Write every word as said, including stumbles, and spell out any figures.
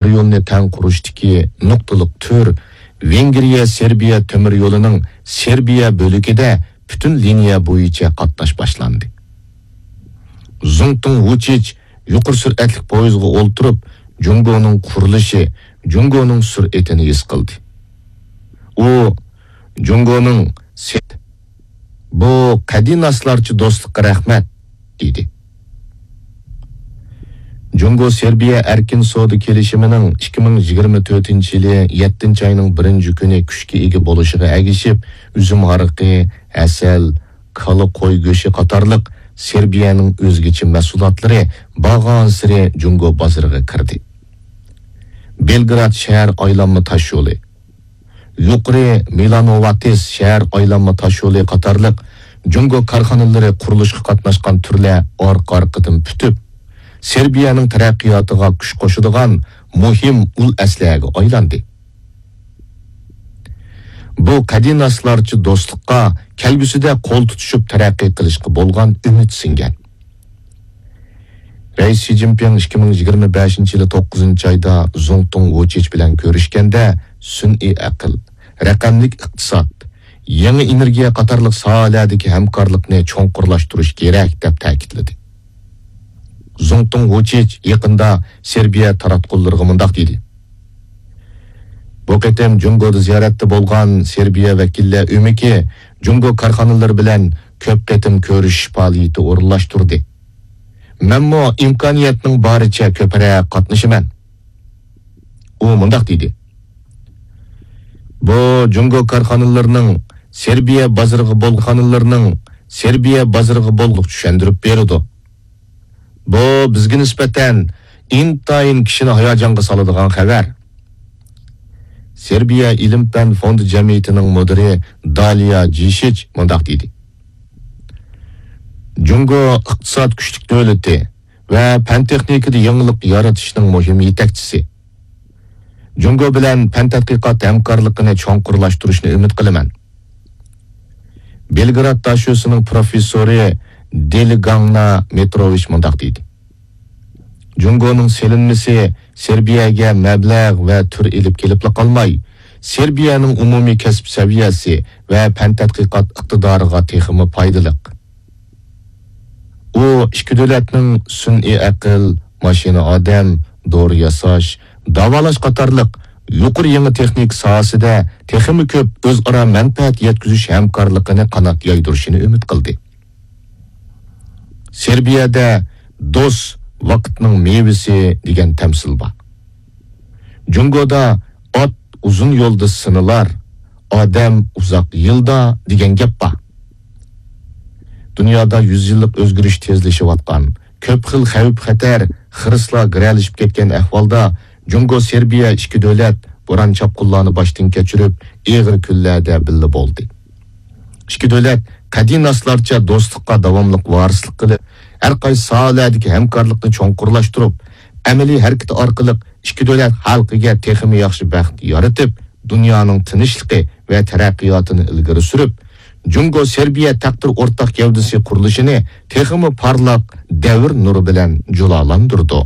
تۆمۈر يولىنى تەڭ قۇرۇشتىكى نۇقتىلىق تۈر، ۋېنگرىيە سېربىيە تۆمۈر يولىنىڭ سېربىيە بۆلىكىدە پۈتۈن لىنىيە بويىچە قاتناش باشلاندى. زۇڭتۇڭ ۋۇچىچ يۇقىرى سۈرئەتلىك پويىزغا ئولتۇرۇپ، جۇڭگونىڭ قۇرۇلۇشى، جۇڭگونىڭ سۈرئىتىنى ھېس قىلدى. ئۇ جۇڭگونىڭ سېت، بۇ قەدىناسلارچە دوستلۇققا رەھمەت، دېدى. جۇڭگو سېربىيە ئەركىن سودا كېلىشىمىنىڭ ئىككى مىڭ يىگىرمە تۆتىنچى يىلى يەتتىنچى ئاينىڭ بىرىنچى كۈنى كۈچكە ئىگە بولۇشىغا ئەگىشىپ، ئۈزۈم ھارىقى، ھەسەل، كالا، قوي گۆشى قاتارلىق سېربىيەنىڭ ئۆزگىچە مەھسۇلاتلىرى بارغانسېرى جۇڭگو بازىرىغا كىردى. بېلگراد شەھەر ئايلانما تاشيولى، يۇقىرى مىلانوۋاتىس شەھەر ئايلانما تاشيولى قاتارلىق جۇڭگو كارخانىلىرى قۇرۇلۇشقا قاتناشقان تۈرلەر ئارقا-ئارقىدىن پۈتۈپ، سېربىيەنىڭ تەرەققىياتىغا كۈچ قوشىدىغان مۇھىم ئۇل ئەسلىھەگە ئايلاندى. بۇ قەدىناسلارچە دوستلۇققا كەلگۈسىدە قول تۇتۇشۇپ تەرەققىي قىلىشقا بولغان ئۈمىد سىڭگەن. رەئىس شى جىنپىڭ ئىككى مىڭ يىگىرمە بەشىنچى يىلى توققۇزىنچى ئايدا زۇڭتۇڭ ۋۇچىچ بىلەن كۆرۈشكەندە، سۈنئىي ئەقىل، رەقەملىك ئىقتىساد، يېڭى ئېنېرگىيە قاتارلىق ساھەلەردىكى ھەمكارلىقنى چوڭقۇرلاشتۇرۇش كېرەك، دەپ تەكىتلىدى. زۇڭتۇڭ ۋۇچىچ يېقىندا سېربىيە تاراتقۇلىرىغا مۇنداق دېدى: بۇ قېتىم جۇڭگودا زىيارەتتە بولغان سېربىيە ۋەكىللەر ئۆمىكى جۇڭگو كارخانىلىرى بىلەن كۆپ قېتىم كۆرۈشۈش پائالىيىتى ئورۇنلاشتۇردى. مەنمۇ ئىمكانىيەتنىڭ بارىچە كۆپرەك قاتنىشىمەن. ئۇ مۇنداق دېدى: بۇ جۇڭگو كارخانىلىرىنىڭ سېربىيە بازىرىغا بولغانلىرىنىڭ سېربىيە بازىرىغا بولغۇق چۈشەندۈرۈپ بېرىدۇ. بۇ بىزگە نىسبەتەن ئىنتايىن كىشىنى ھاياجانغا سالىدىغان خەۋەر. سېربىيە ئىلىم-پەن فوندى جەمئىيىتىنىڭ مۇدىرى دالىيا جىشىچ مۇنداق دېدى: جۇڭگو ئىقتىساد كۈچلۈك دۆلىتى ۋە پەن-تېخنىكىدا يېڭىلىق يارىتىشنىڭ مۇھىم يېتەكچىسى. جۇڭگو بىلەن پەن-تەتقىقات ھەمكارلىقىنى چوڭقۇرلاشتۇرۇشنى ئۈمىد قىلىمەن. بېلگراد داشۆسىنىڭ پروفېسسورى دېلىگاڭنا مېتروۋىچ مۇنداق دېدى: جۇڭگونىڭ سېلىنمىسى سېربىيەگە مەبلەغ ۋە تۈر ئېلىپ كېلىپلا قالماي، سېربىيەنىڭ ئومۇمىي كەسىپ سەۋىيەسى ۋە پەن-تەتقىقات ئىقتىدارىغا تېخىمۇ پايدىلىق. ئۇ ئىككى دۆلەتنىڭ سۈنئىي ئەقىل، ماشىنا ئادەم، دورا ياساش، داۋالاش قاتارلىق يۇقىرى يېڭى تېخنىكا ساھەسىدە تېخىمۇ كۆپ ئۆزئارا مەنپەئەت يەتكۈزۈش ھەمكارلىقىنى قانات يايدۇرۇشىنى ئۈمىد قىلدى. سېربىيەدە «دوست ۋاقىتنىڭ مېۋىسى» دېگەن تەمسىل بار. جۇڭگودا «ئات ئۇزۇن يولدا سىنىلار، ئادەم ئۇزاق يىلدا» دېگەن گەپ بار. دۇنيادا يۈز يىللىق ئۆزگىرىش تېزلىشىۋاتقان، كۆپ خىل خەۋپ-خەتەر، خىرىسلار گىرەلىشىپ كەتكەن ئەھۋالدا، جۇڭگو سېربىيە ئىككى دۆلەت بوران-چاپقۇنلارنى باشتىن كەچۈرۈپ، ئېغىر كۈنلەردە بىللە بولدى. ئىككى دۆلەت قەدىناسلارچە دوستلۇققا داۋاملىق ۋارىسلىق قىلىپ، ھەر قايسى ساھەلەردىكى ھەمكارلىقنى چوڭقۇرلاشتۇرۇپ، ئەمەلىي ھەرىكىتى ئارقىلىق ئىككى دۆلەت خەلقىگە تېخىمۇ ياخشى بەخت يارىتىپ، دۇنيانىڭ تىنچلىقى ۋە تەرەققىياتىنى ئىلگىرى سۈرۈپ، جۇڭگو سېربىيە تەقدىر ئورتاق گەۋدىسى قۇرۇلۇشىنى تېخىمۇ پارلاق دەۋر نۇرى بىلەن جۇلالاندۇرىدۇ.